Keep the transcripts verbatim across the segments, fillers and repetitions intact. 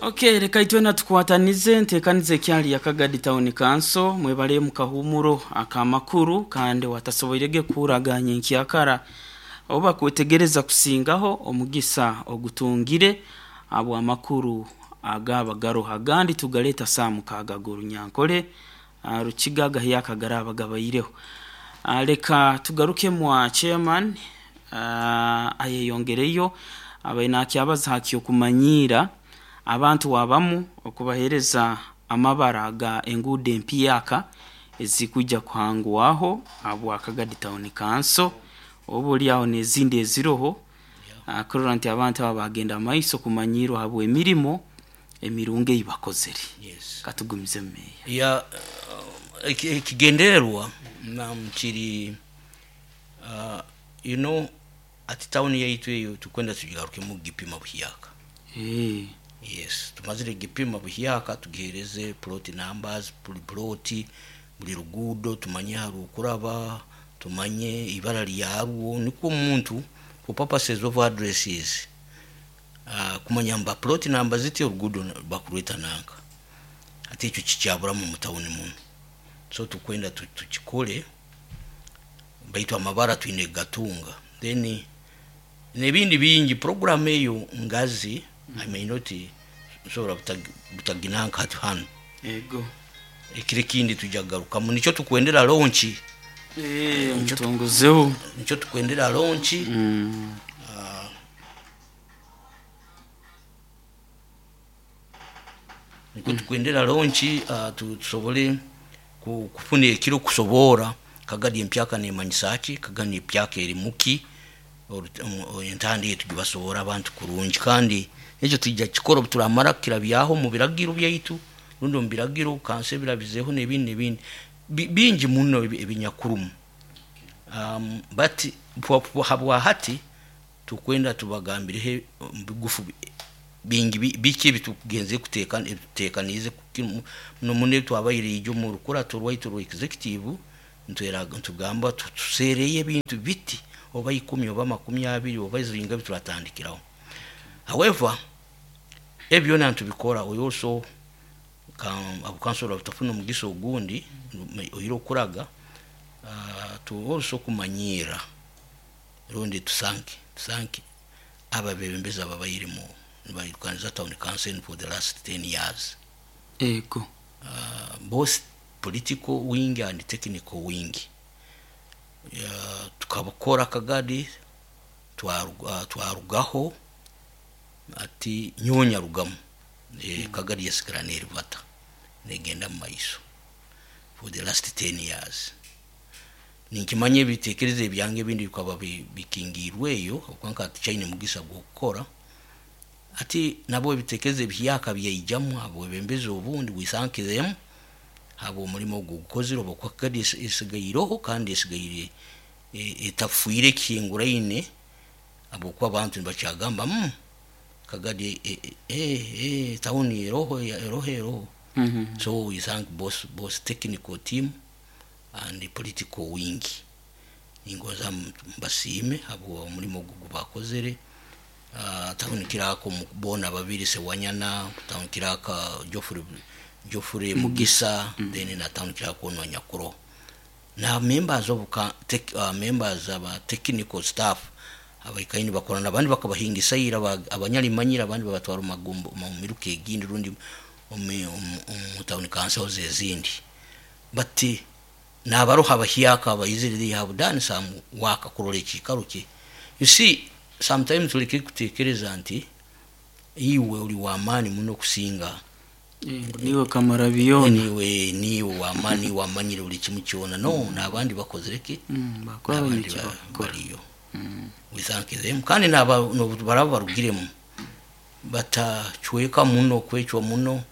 Okay, reka itwena tukwatanize ntekanize ekyali ya Kagadi Town Council mwebale mu kahumuro akamakuru kandi watasoboirege kuraganya enkyakara oba kwetegereza kusingaho omugisa ogutungire abo amakuru agaba garoha agandi tugaleta saa mukaaga g'orunyankole ah, Rukiga gahiyaka garaba gabaireho. Ah, reka tugaruke mwa chairman ah, ayeyongereyo abaine akyabaza hakyokumanyiira abantu wabamu okubahereza amabara ga enguudo empyaka ezikujja kuhangwaho habwa Kagadi Town Council oba oli aho n'ezindi eziroho ah, kurora nti abantu aba bagenda maiso kumanyirwa habw'emirimo emirungi ei bakozere. Yes. Katugumize meya. Ya uh, eki- ekigendererwa nam kiri uh, you know ati town yaitu eyo tukwenda tugigarukemu gipima buhyaka. Eh, Yes, tumazire gipima buhyaka, tugihereze plot numbers, buli plot, buli rugudo tumanye harukuraba, tumanye ibara lyarwo, nikwo omuntu for purposes of addresses uh, kumanya mba plot number ziti orugudo bakurweta nanka ate ekyo kikyaburamu mu tawuni muno. So tukwenda tu- tukikole baitu amabara twine gatunga, then nebindi bingi program eyo ngazi. I may not nsobora butag- butaginanka hati hano. Ego. Ekiro ekindi tujja kugarukamu, nikyo tukwendera launch. Eh, mutongozeho. Nikyo tukwendera launch. Mm. Ah, nikwo tukwendera launch, ah, tu- tusobole ku- kufuna ekiro kusobora Kagadi empyaka nemanyisa ki, Kagadi empyaka eri muki, oru- omu- entandi eyo tugibasobora abantu kurungi, kandi ekyo tujja kikora obu turamara kukirabyaho mu biragiro byaitu rundi omu biragiro kansa ebirabizeho n'ebindi n'ebindi Bi- bingi muno ebi- ebinyakurumu. um, but bwa- bwa- habwahati tukwenda tubagambireho bigufu bingi bi- biki ebitugenze kuteeka ebituteekaniize muno muno twabaire ijo mu rukurato rwaitu rwa executive, ntwera- ntugamba tu- tuseereyo ebintu biti oba ikumi oba makumi abiri oba zinga bituratandikiraho. However, ebyo byona ntubikora, we also abukansora butafuna omugisa ogundi oire okuraga uh, tu also kumanyiira rundi tusanke tusanke ababebembezi ababairemu nibairukaniza town council for the last ten years. Ego. uh, both political wing and technical wing. uh, tukabakora Kagadi twaruga, twarugaho ati nyonya rugamu e, Kagadi yasigara neribata negenda mu maiso for the last ten years. Ninkimanya ebitekerezo ebyange ebindi bikaba bi- bikingirweyo okwanka tuchaine mugisa gw'okukora ati nabo ebitekerezo ebihyaka byaijamu habwebembezi obundi wisankiremu haba omulimo ogwo gukozire oba kwa Kagadi esi- esigaireho kandi esigaire e- etafuire ekihinguraine habwokuba abantu nibakyagamba mm, Kagadi e, e, e, e, tawuni eroho eroho eroho. Mhm. So we thank both, both technical team and the political wing. Ningoza mbasiime habwa omulimo ogwo gubakozere. uh, town kirako bona babiri Sewanyana, town kiraka Geoffrey Geoffrey Mugisa, mm. then na town kirako no Nyakuro na members of ka, tech, uh, members aba technical staff abaikaini bakorana abandi bakabahingisa ira abanyalimanyira abandi babatwara mu magumbo mu miruka egindi rundi omu omu town councils ezindi, but nabaroha abahyaka abaizire they have done some work kurora ekikaro kye. You see, sometimes tuleke kutekereza nti iwe uli wamaani muno kusinga. Eh, niwe kamara byona. Niwe niwe wamaani wamanyire buli kimu kyona no mm. N'abandi bakozere ki. Mm, bakora n'abandi eki ba- bakora. Bariyo, we thank them, kandi naba no- baraba barugiremu batacweka muno kwecwa muno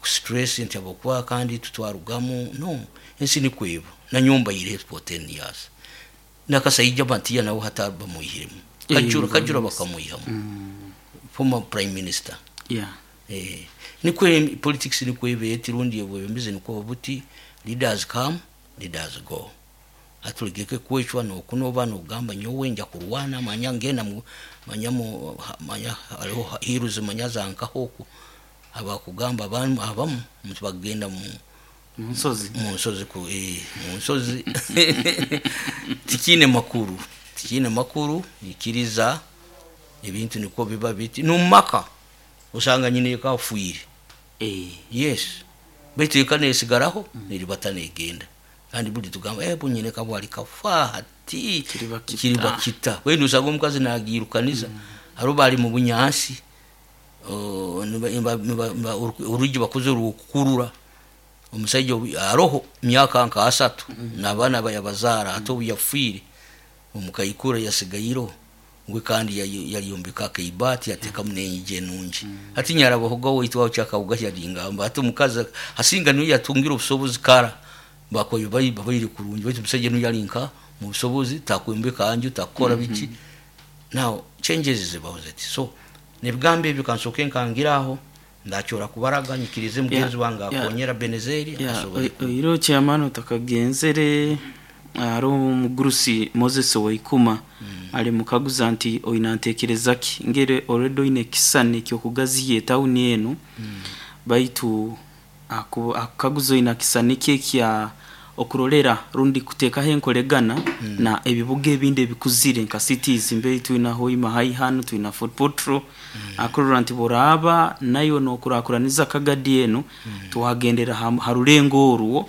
stress nti abokuba kandi tutwarugamu no ensi nikweba nanyumba yire for ten years nakasaija bantiya nawe hata bamuihiremu Eh, kajura kajura yes. bakamuihamu Mm, former prime minister. Yeah. Eh, nikwe politics nikwebe eti rundi ebwebembezi nikwo buti leaders come, leaders go. Atulegeke kwecwa nokunoba nogamba nyowe nja kurwana, manya ngenda mu manya mu manya hariho hiruzi manya zankaho oku abakugamba abamu abamu bagenda mu Munsozi. Mu nsozi ku eh, mu nsozi tikine makuru, tikine makuru. Ikiriza ebintu niko biba biti numaka usanga nyine kafuire. Eh. Yes, baitu eka nesigaraho neribata negenda, kandi buli tugamba eh bunyine kabwali kafa hati. Kiriba kita. Kiriba kita wenu usanga omukazi nagirukaniza mm. Haro bali mu bunyansi, oh, niba- niba- niba- niba- orugi bakoze rukurura omusajja obu- aroho myaka nka asatu mm. N'abaana bayabazaara ate obu yafiire omukaikura yasigairo we, kandi yali- yaliyombeka akaibaati yatekamu n'enyigi enungi. Hati nyarabahoga waitu aho kyakawuga yaringamba ati omukazi asinga niyo yatungire obusobozi kara bakoyo bayi babaire kurungi, baitu omusajja niyo yali nka mu busobozi takwembeka nju takukora biki. Now changes zibaho ziti, so nebigambo ebyo kansooke nkangiraho ndakyora kubaraga nyikirize mugenzi wange yeah. akonyera Benezeri Ya, asobole ku- oiro chairman utakagenzere ari omugurusi Moses Waikuma ali mukaguza nti oina ntekereza ki ngere already oine ekisani ekyokugaziya etawuni enu, baitu aku- akukaguza oina kisani ki ekya okurolera rundi kuteekaho enkoregana na ebibuga ebindi ebikuzire nka cities mbei twina Hoima High hanu, twina Fort Portal. Akurora nti boraba nayo nokurakuraniza Kagadi enu twagendera ha, ha rulengo orwo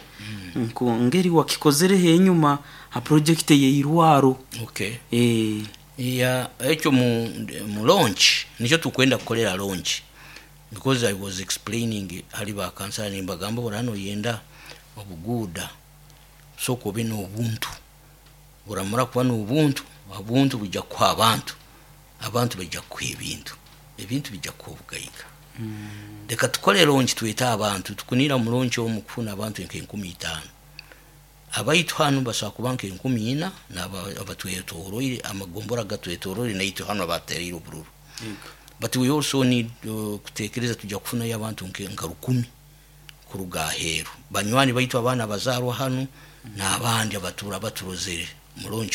nko ngeri wakikozereho enyuma ha project yeirwaro. Okay. Eh. Ya, ekyo mu, mu launch nikyo tukwenda kukolera launch, because I was explaining hali bakansala nimbagamba burano yenda obuguuda sooka obe n'obuntu, buramara kuba n'obuntu, obuntu bujja kuha abantu, abantu bajja kuha ebintu, ebintu bijja kuha obugaiga. Leka tukole launch twete abantu tukunira mu launch omu kufuna abantu nk'enkumi itaano, abaitu hanu basobola kuba nk'enkumi ina n'abatwetoroire amagombora gatwetoroire naitwe hanu abatereire obururu. But we also need uh, kutekereza tujja kufunayo abantu nke- nka rukumi kuruga aheeru, banywani baitu abaana bazaarwa hanu n'abandi abatura baturozere mu launch.